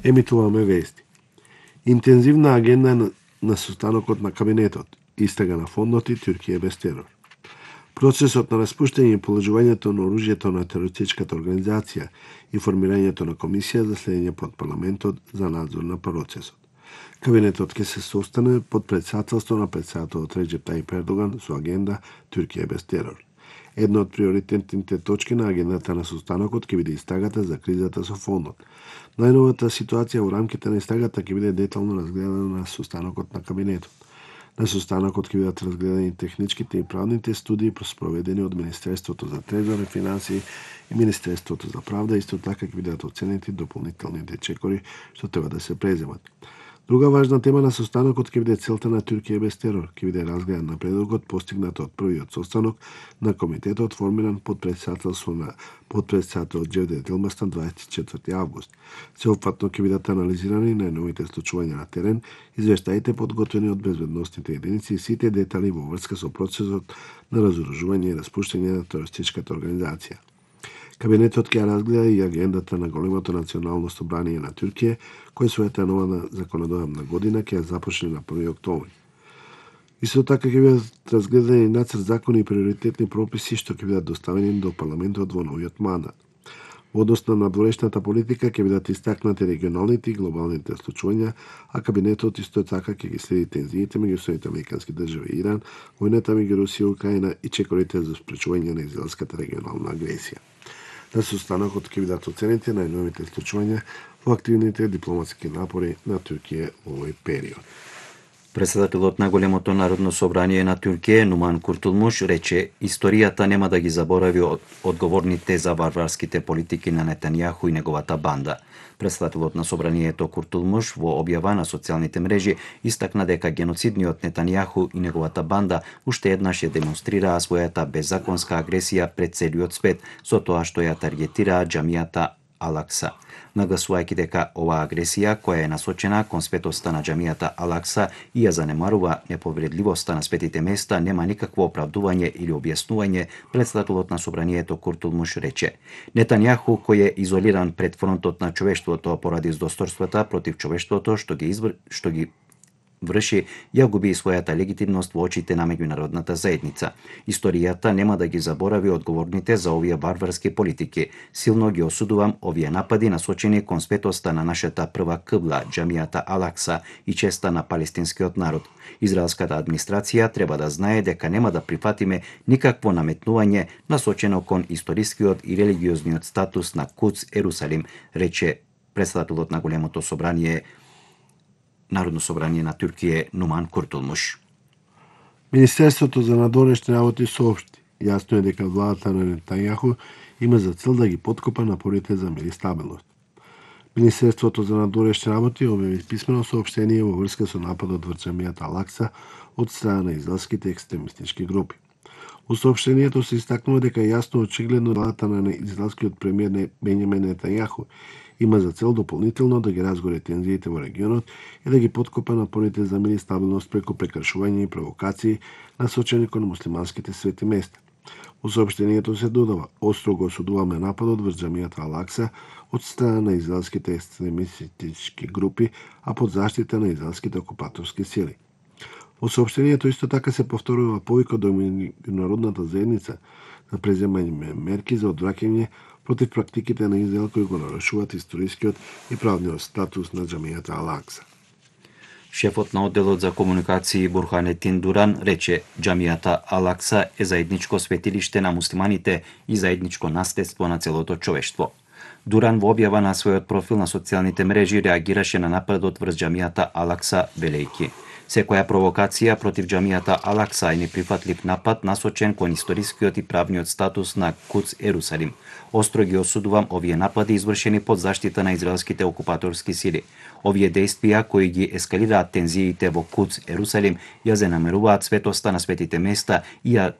Емитуваме вести. Интензивна агенда на состанокот на кабинетот, истрага на фондот и Туркија без терор. Процесот на распуштање и положувањето на оружјето на терористичката организација и формирањето на комисија за следење под парламентот за надзор на процесот. Кабинетот ќе се состане под председателство на председателот Реджеп Тајип Ердоган со агенда Туркија без терор. Една од приоритетните точки на агендата на состанокот ќе биде истрагата за кризата со фондот. Најновата ситуација во рамките на истрагата ќе биде детално разгледана на состанокот на кабинетот. На состанокот ќе бидат разгледани техничките и правните студии спроведени од Министерството за трезор и финансии и Министерството за правда, исто така ќе бидат оценети дополнителните чекори што треба да се преземат. Друга важна тема на состанокот ќе биде целта на Туркија без терор. Ќе биде разгледан напредокот постигнат од првиот состанок на комитетот формиран под председателство на подпредседател Џевдет Елбастан 24 август. Сеопфатно ќе бидат анализирани најновите случувања на терен, извештаите подготвени од безбедносните единици и сите детали во врска со процесот на разоружување и распуштање на терористичката организација. Кабинетот ќе разгледа и агендата на големото национално собрание на Туркија, кој својата нова законодавна година ќе започне на 1 октомври. Исто така ќе бидат разгледани нацрт закони и приоритетни прописи што ќе бидат доставени до парламентот во новиот мандат. Во однос на надворешната политика ќе бидат истакнати регионалните и глобалните случувања, а кабинетот исто така ќе ги следи тензиите меѓу Соединетите американски држави и Иран, војната меѓу Русија и Украина и чекорите за спречување на израелската регионална агресија. На состанокот ќе бидат оценети најновите случувања во активните дипломатски напори на Туркија во овој период. Председателот на големото народно собрание на Туркија, Нуман Куртулмуш, рече историјата нема да ги заборави одговорните за варварските политики на Нетањаху и неговата банда. Председателот на собранието Куртулмуш во објава на социјалните мрежи истакна дека геноцидниот Нетањаху и неговата банда уште еднаш ја демонстрираа својата беззаконска агресија пред целиот свет со тоа што ја таргетираа џамијата Ал-Акса, нагласувајќи дека оваа агресија, која е насочена кон светоста на џамијата Ал-Акса и ја занемарува неповредливоста на светите места, нема никакво оправдување или објаснување, председателот на собранието Куртулмуш рече. Нетањаху, кој е изолиран пред фронтот на човештвото поради здосторствата против човештвото што ги врши, ја губи и својата легитимност во очите на меѓународната заедница. Историјата нема да ги заборави одговорните за овие барбарски политики. Силно ги осудувам овие напади насочени кон светоста на нашата прва кибла, џамијата Ал-Акса и честа на палестинскиот народ. Израелската администрација треба да знае дека нема да прифатиме никакво наметнување насочено кон историскиот и религиозниот статус на Кудс Ерусалим, рече председателот на големото собрание Народно собрание на Туркија Нуман Куртулмуш. Министерството за надворешни работи соопшти. Јасно е дека владата на Нетањаху има за цел да ги подкопа напорите за мир и стабилност. Министерството за надворешни работи објави писмено соопштение во врска со нападот врз џамијата Ал-Акса од страна на израелските екстремистички групи. Во соопштението се истакнува дека јасно очигледно владата на израелскиот премиер Бенјамин Нетањаху има за цел дополнително да ги разгори тензиите во регионот и да ги подкопа напорите за мир и стабилност преку прекршување и провокации насочени кон муслиманските свети места. Во соопштението се додава: остро го осудуваме нападот врз џамијата Ал-Акса од страна на израелските екстремистички групи, а под заштита на израелските окупаторски сили. Во соопштението исто така се повторува повикот до меѓународната заедница за преземање мерки за одвраќање против практиките на Израел кои го нарушуваат историскиот и правниот статус на џамијата Ал-Акса. Шефот на одделот за комуникации Бурханетин Дуран рече џамијата Ал-Акса е заедничко светилиште на муслиманите и заедничко наследство на целото човештво. Дуран во објава на својот профил на социјалните мрежи реагираше на нападот врз џамијата Ал-Акса велејќи: секоја провокација против џамијата Ал-Акса е неприфатлив напад насочен кон историскиот и правниот статус на Кудс Ерусалим. Остро ги осудувам овие напади извршени под заштита на израелските окупаторски сили. Овие дејствија кои ги ескалираат тензиите во Кудс Ерусалим ја занемаруваат светоста на светите места и ја